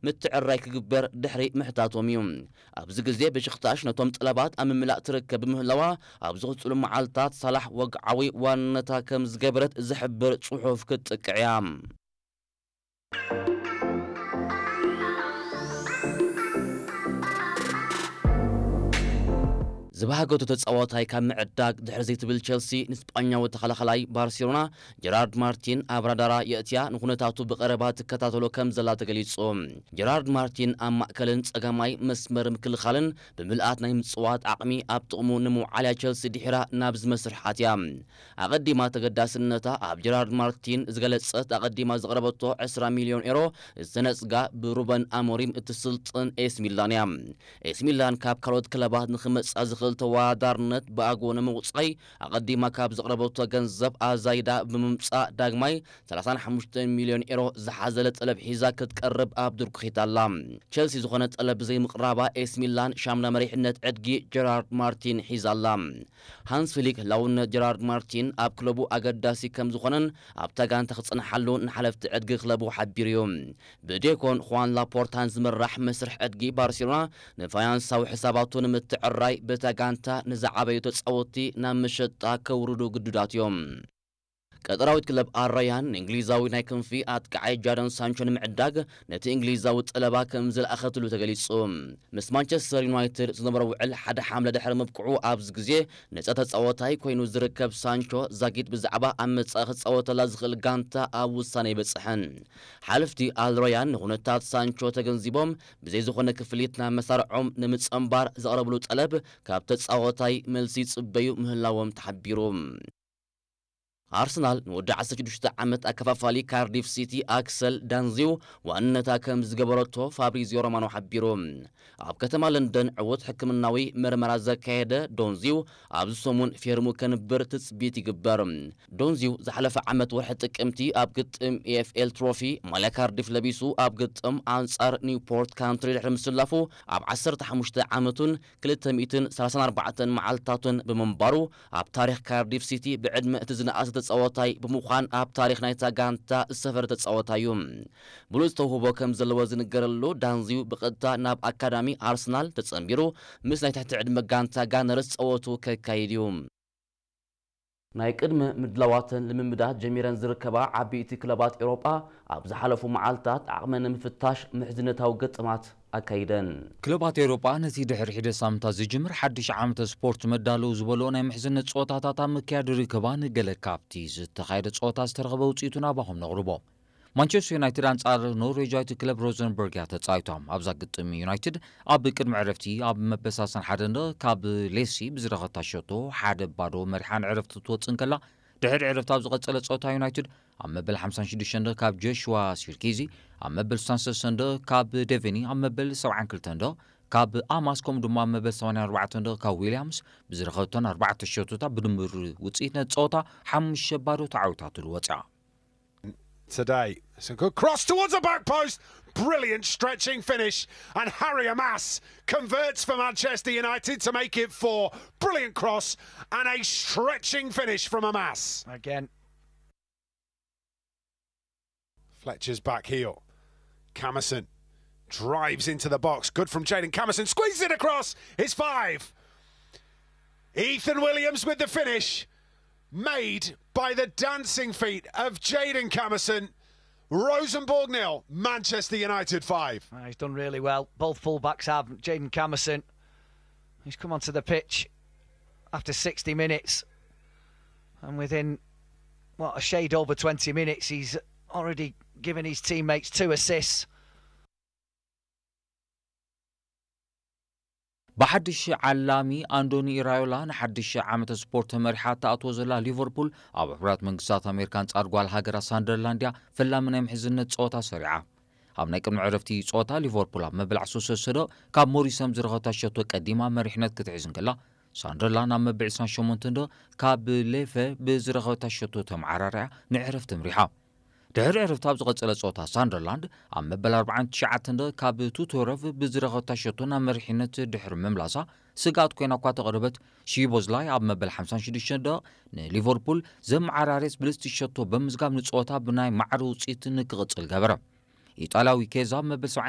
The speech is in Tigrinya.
ምትዕራይ ክግበር ድሕሪ ምሕታቶም እዩ። ኣብዚ ግዜ በሽኽታሽ ነቶም ጠለባት ኣብ ምምላእ ትርከብ ብምህላዋ፣ ኣብ ዝቕጽሉ መዓልታት ሳላሕ ወግዓዊ ዋንነታ ከም ዝገበረት ዝሕብር ጽሑፍ ክትጥቅዕ እያ። ዝበሃገቱ ተጻዋታይ ካብ ምዕዳግ ድሕሪ ዘይትብል ቸልሲ፣ ንስጳኛዊ ተኸላኸላይ ባርሴሎና ጀራርድ ማርቲን ኣብ ራዳራ የእትያ፣ ንኩነታቱ ብቐረባ ትከታተሎ ከም ዘላ ተገሊጹ። ጀራርድ ማርቲን ኣብ ማእከልን ጸጋማይ መስመር ምክልኻልን ብምልኣት ናይ ምጽዋት ዓቕሚ ኣብ ጥቕሙ ንምውዓል እያ ቸልሲ ድሒራ ናብ ዝመስርሕ ኣትያ። ኣቐዲማ ተገዳስነታ ኣብ ጀራርድ ማርቲን ዝገለጸት፣ ኣቐዲማ ዘቕረበቶ ዕስራ ሚልዮን ኤሮ ዝተነጽጋ ብሩበን ኣሞሪም እትስልጥን ኤስ ሚላን እያ። ኤስ ሚላን ካብ ካልኦት ክለባት ንኽመጽኣ ዝኽእል ተወዳዳርነት ብኣግኡ ንምቑጻይ፣ ኣቐዲማ ካብ ዘቕረበቶ ገንዘብ ኣዛይዳ ብምምጻእ፣ ዳግማይ ሰላሳን ሓሙሽተ ሚልዮን ኤሮ ዝሓዘለ ጠለብ ሒዛ ክትቀርብ ኣብ ድርኩኺት ኣላ። ቸልሲ ዝኾነ ጠለብ ብዘይምቕራባ፣ ኤስ ሚላን ሻምና መሪሕነት ዕድጊ ጀራርድ ማርቲን ሒዛ ኣላ። ሃንስ ፍሊክ ህላውነት ጀራርድ ማርቲን ኣብ ክለቡ ኣገዳሲ ከም ዝኾነን ኣብታ ጋንታ ክጸንሓሉ ንሓለፍቲ ዕድጊ ክለቡ ሓቢሩ እዩ። ብዴኮን ኹዋን ላፖርታን ዝምራሕ መስርሕ ዕድጊ ባርሴሎና ንፋይናንሳዊ ሕሳባቱ ንምትዕራይ በታ ጋንታ ንዝዓበዩ ተጻወትቲ ናብ መሸጣ ከውርዱ ግዱዳት እዮም። ቀጠራዊት ክለብ ኣልራያን ንእንግሊዛዊ ናይ ክንፊ ኣጥቃዓይ ጃደን ሳንቾ ንምዕዳግ ነቲ እንግሊዛዊ ጠለባ ከም ዝለኣኸትሉ ተገሊጹ። ምስ ማንቸስተር ዩናይትድ ዝነበሮ ውዕል ሓደ ሓምለ ድሕሪ ምብቅዑ ኣብዚ ግዜ ነጻ ተጻዋታይ ኮይኑ ዝርከብ ሳንቾ ዛጊት ብዛዕባ ኣብ መጻኢ ክጻወተላ ዝኽእል ጋንታ ኣብ ውሳነ ኣይበጽሐን። ሓለፍቲ ኣልሮያን ንኹነታት ሳንቾ ተገንዚቦም ብዘይ ዝኾነ ክፍሊት ናብ መሳርዖም ንምጽንባር ዘቕረብሉ ጠለብ ካብ ተጻዋታይ መልሲ ይጽበዩ ምህላዎም ተሓቢሩ። ኣርሰናል ንወዲ ዓሰርተ ሽዱሽተ ዓመት ኣከፋፋሊ ካርዲፍ ሲቲ ኣክሰል ዳንዚው ዋንነታ ከም ዝገበረቶ ፋብሪዚዮ ሮማኖ ሓቢሩ። ኣብ ከተማ ለንደን ዕዉት ሕክምናዊ መርመራ ዘካየደ ዶንዚው ኣብዚ ሰሙን ፌርሙ ከንብር ትጽቢት ይግበር። ዶንዚው ዝሓለፈ ዓመት ወርሒ ጥቅምቲ ኣብ ግጥም ኤ ኤፍ ኤል ትሮፊ ማልያ ካርዲፍ ለቢሱ ኣብ ግጥም ኣንጻር ኒውፖርት ካንትሪ ድሕሪ ምስላፉ ኣብ ዓሰርተ ሓሙሽተ ዓመቱን ክልተ ሚእትን ሰላሳን ኣርባዕተን መዓልታቱን ብምንባሩ ኣብ ታሪኽ ካርዲፍ ሲቲ ብዕድመ እቲ ዝነኣሰ ተጻዋታይ ብምዃን ኣብ ታሪኽ ናይታ ጋንታ ዝሰፈረ ተጻዋታይ እዩ። ብሉጽ ተውህቦ ከም ዘለዎ ዝንገረሉ ዳንዚው ብቐጥታ ናብ ኣካዳሚ ኣርሰናል ተጸንቢሩ ምስ ናይ ትሕቲ ዕድመ ጋንታ ጋነርስ ጸወቱ ከካይድ እዩ። ናይ ቅድመ ምድላዋተን ልምምዳት ጀሚረን ዝርከባ ዓበይቲ ክለባት ኤውሮጳ ኣብ ዝሓለፉ መዓልታት ዓቕመን ንምፍታሽ ምሕዝነታዊ ገጠማት ኣካይደን። ክለባት ኤውሮጳ ነቲ ድሕሪ ሒደት ሳምንታት ዝጅምር ሓድሽ ዓመተ ስፖርት መዳለዊ ዝበልኦ ናይ ምሕዝነት ጸወታታት ኣብ ምክያድ ይርከባ። ንገለ ካብቲ ዝተኻየደ ጸወታ ዝተረኽበ ውጽኢቱ ናባኹም ነቕርቦ። ማንቸስተር ዩናይትድ ኣንጻር ኖርዌጃዊት ክለብ ሮዘንበርግ እያ ተጻዊቶም። ኣብዛ ግጥም ዩናይትድ ኣብ ቅድሚ ዕረፍቲ ኣብ መበል ሰላሳን ሓደን ካብ ሌሲ ብዝረኸታ ሸቶ ሓደ ባዶ መሪሓ ንዕረፍቲ ትወጽእ እንከላ፣ ድሕሪ ዕረፍቲ ኣብ ዝቐጸለ ጸወታ ዩናይትድ ኣብ መበል ሓምሳን ሽዱሽተን ካብ ጆሽዋ ሲርኪዚ፣ ኣብ መበል ስሳን ሰለስተን ካብ ዴቨኒ፣ ኣብ መበል ሰብዓን ክልተን ካብ ኣማስ ከምኡ ድማ ኣብ መበል ሰማንያን ኣርባዕተን ካብ ዊልያምስ ብዝረኸብተን ኣርባዕተ ሸቶታት ብድምር ውጽኢት ነቲ ጸወታ ሓሙሽተ ባዶ ተዓዊታትሉ ወጽያ። Today. It's a good cross towards the back post. Brilliant stretching finish. And Harry Amas converts for Manchester United to make it four. Brilliant cross and a stretching finish from Amas. Again, Fletcher's back heel. Camerson drives into the box. Good from Jaden Camerson. Squeezes it across. It's five. Ethan Williams with the finish. Made by the dancing feet of Jaden Camerson. Rosenborg nil, Manchester United five. Ah, he's done really well. Both fullbacks have. Jaden Camerson, he's come onto the pitch after sixty minutes, and within what, a shade over twenty minutes, he's already given his teammates two assists. ብሓድሽ ዓላሚ ኣንዶኒ ኢራዮላ ንሓድሽ ዓመተ ስፖርት መሪሓ እትኣትዎ ዘላ ሊቨርፑል ኣብ ሕቡራት መንግስታት ኣሜሪካ ኣንጻር ጓል ሃገራ ሳንደርላንድ እያ ፈላሚ ናይ ምሕዝነት ጸወታ ሰሪዓ። ኣብ ናይ ቅድሚ ዕረፍቲ ጸወታ ሊቨርፑል ኣብ መበል ዓሰርተ ሰለስተ ደቂቕ ካብ ሞሪሰን ብዝረኸበታ ሸቶ ቀዲማ መሪሕነት ክትሕዝ እንከላ ሳንደርላንድ ኣብ መበል ዕስራን ሸሞንተን ደቂቕ ካብ ሌፈ ብዝረኸበታ ሸቶ ተመዓራርያ ንዕረፍቲ ኣምሪሓ። ድሕሪ ዕረፍቲ ኣብ ዝቐጸለ ጸወታ ሳንደርላንድ ኣብ መበል ኣርባዓን ትሽዓተን ደቂቕ ካብ ቱቶረቭ ብዝረኸበታ ሸቶ ናብ መሪሕነት ድሕሪ ምምላሳ ስግኣት ኮይና እኳ ተቕርበት ሺቦዝላይ ኣብ መበል ሓምሳን ሽዱሽተን ደቂቕ ንሊቨርፑል ዘመዓራርየት ብልጽቲ ሸቶ ብምዝጋብ ንጸወታ ብናይ ማዕረ ውጽኢት ንክቕጽል ገበረ። ኢጣልያዊ ኬዛ መበል